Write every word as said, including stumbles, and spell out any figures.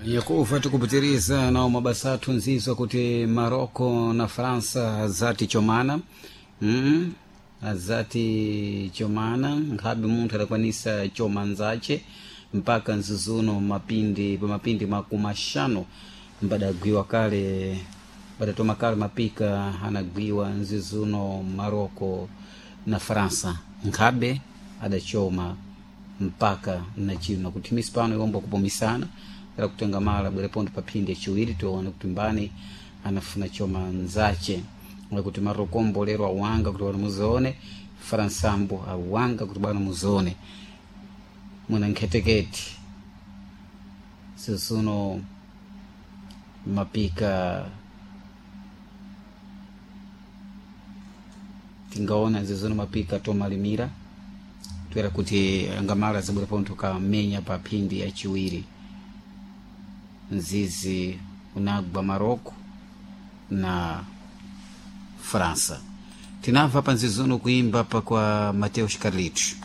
Yakuva tikupitiriza nawo mabasa athu nzizo kuti Marocco na França zati chomana mm? Azati chomana, nkhabe munthu adakwanisa choma nzache mpaka nzizuno mapindi pamapindi makumi axanu mbadagwiwa kale, badatoma kale mapika anagwiwa nzizuno Marocco na França, nkhabe adachoma mpaka na chino kuti misi pano iwomba kupumisana era kutenga mala bwerepondo pa phindi yaciwiri, tione kuti mbani anafuna choma nzache, kuti Marokombo lero awanga kuti bwana muzione, Faransambo awanga kuti bwana muzione muna nkhetekete sisuno mapika tingaona zizuno mapika tomalimira toera kuti angamala zibwerepondo kamenya pa phindi yaciwiri nzizi unagwa Marocco na França. Tinamva pa nzizuno kuimba pa kwa Mateus Carlitos.